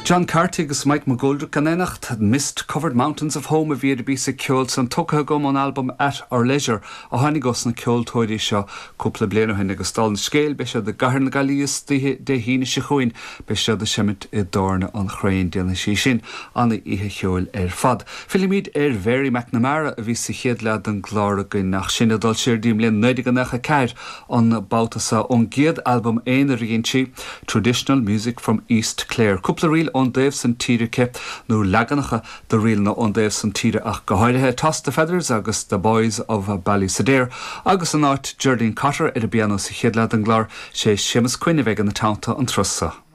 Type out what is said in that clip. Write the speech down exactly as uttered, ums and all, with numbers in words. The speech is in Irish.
John Carty agus Mike McGoldrick in éineacht Mist Covered Mountains of Home a bhí a bhí sa ceol san tugtha agam ón album At Our Leisure a tháinig ó na ceoltóirí seo cúpla bliain ó shin agus dála an scéil beidh siad i gCathair na Gaillimhe oíche Dé hAoine seo chugainn beidh siad ag seimint i dTábhairne an Chrainn déanfaidh sé sin an-oíche cheoil ar fad. Fillimid ar Mhary McNamara a bhí sa chéad leath den gclár againn ach sin ag dul siar go dtí an bhliain naoi déag nócha ceathair an babhta seo ón gcéad album aonair a dhein sí Traditional Music from East Clare. Cúpla ríl ón dtaobh san tíre nó leaganacha de ríleanna ón dtaobh san tíre ach go háirithe Toss the Feathers agus The Boys of Ballysadare agus in áit Geraldine Cotter ar an bpianó sa chéad leath den gclár sé Séamus Quinn a bheidh ina teannta an turas seo.